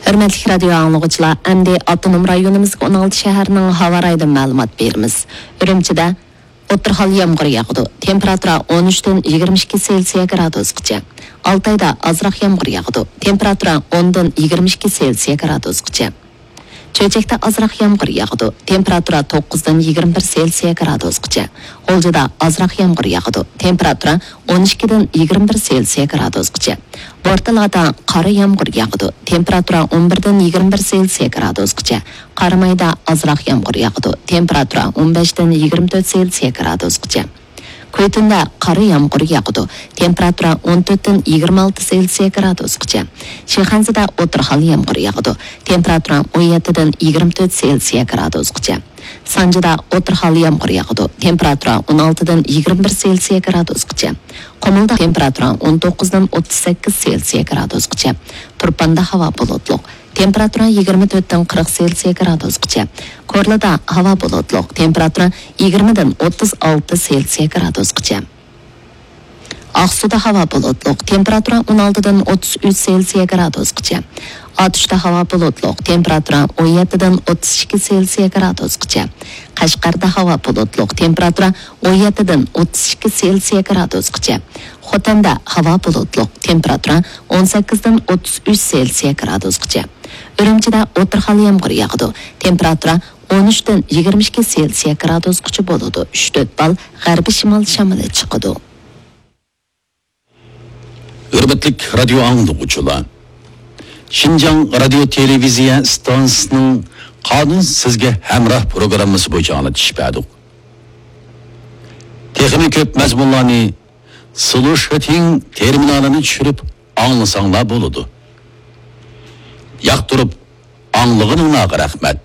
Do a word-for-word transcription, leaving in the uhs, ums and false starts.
ھۆرمەتلىك رادىيو ئاڭلىغۇچىلار، ئەمدى ئاپتونوم رايونىمىزدىكى ئون ئالتە شەھەرنىڭ ھاۋا رايىدىن مەلۇمات بېرىمىز. ئۈرۈمچىدە ئوتتۇرا ھال يامغۇر ياغىدۇ. تېمپېراتۇرا ئون ئۈچتىن يىگىرمە ئىككى سېلسىيە گرادۇسقىچە. ئالتايدا ئازراق يامغۇر ياغىدۇ. تېمپېراتۇرا ئوندىن يىگىرمە ئىككى سېلسىيە گرادۇسقىچە. چۆچەكتە ئازراق يامغۇر ياغىدۇ. تېمپېراتۇرا توققۇزدىن يىگىرمە بىر سېلسىيە گرادۇسقىچە. غۇلجىدا ئازراق يامغۇر ياغىدۇ. تېمپېراتۇرا ئون ئىككىدىن يىگىرمە بىر سېلسىيە گرادۇسقىچە. بورتالادا قارا يامغۇر ياغىدۇ. تېمپېراتۇرا ئون بىردىن يىگىرمە بىر سېلسىيە گرادۇسقىچە. قارامايدا ئازراق يامغۇر ياغىدۇ. تېمپېراتۇرا ئون بەشتىن يىگىرمە تۆت سېلسىيە گرادۇسقىچە. كۈيتۈندە قارا يامغۇر ياغىدۇ. تېمپېراتۇرا ئون تۆتتىن يىگىرمە ئالتە سېلسىيە گرادۇسقىچە. شىخەنزىدە ئوتتۇرا ھال يامغۇر ياغىدۇ. تېمپېراتۇرا ئون يەتتىدىن يىگىرمە تۆت سېلسىيە گرادۇسقىچە. سانجىدا ئوتتۇرا ھال يامغۇر ياغىدۇ. تېمپېراتۇرا ئون ئالتىدىن يىگىرمە بىر سېلسىيە گرادۇسقىچە. قۇمۇلدا تېمپېراتۇرا ئون توققۇزدىن ئوتتۇز سەككىز سېلسىيە گرادۇسقىچە. تۇرپاندا ھاۋا بۇلۇتلۇق. تېمپېراتۇرا يىگىرمە تۆتتىن قىرىق سېلسىيە گرادۇسقىچە. كورلىدا ھاۋا بۇلۇتلۇق. تېمپېراتۇرا يىگىرمىدىن ئوتتۇز ئالتە سېلسىيە گرادۇسقىچە. ئاقسۇدا ھاۋا بۇلۇتلۇق، تېمپېراتۇرا ئون ئالتىدىن ئوتتۇز ئۈچ سېلسىيە گرادۇسقىچە. ئاتۇشتا ھاۋا بۇلۇتلۇق، تېمپېراتۇرا ئون يەتتىدىن ئوتتۇز ئىككى سېلسىيە گرادۇسقىچە. قەشقەردە ھاۋا بۇلۇتلۇق، تېمپېراتۇرا ئون يەتتىدىن ئوتتۇز ئىككى سېلسىيە گرادۇسقىچە. خوتەندە ھاۋا بۇلۇتلۇق، تېمپېراتۇرا ئون سەككىزدىن ئوتتۇز ئۈچ سېلسىيە گرادۇسقىچە. ئۈرۈمچىدە ئوتتۇرا ھال يامغۇر ياغىدۇ، تېمپېراتۇرا ئون ئۈچتىن يىگىرمە ئىككى سېلسىيە گرادۇسقىچە بولىدۇ. ئۈچ تۆت بال غەربىي شىمال شامىلى چىقىدۇ. ھۆرمەتلىك رادىيو ئاڭلىغۇچىلار، شىنجاڭ رادىيو تېلېۋىزىيە ئىستانسىسىنىڭ قانۇن سىزگە ھەمراھ پروگراممىسى بويىچە ئاڭلىتىش بەردۇق. تېخىمۇ كۆپ مەزمۇنلارنى سلۇشىتىڭ تېرمىنالىنى چۈشۈرۈپ ئاڭلىساڭلار بولىدۇ. ياقتۇرۇپ ئاڭلىغىنىڭلارغا رەھمەت.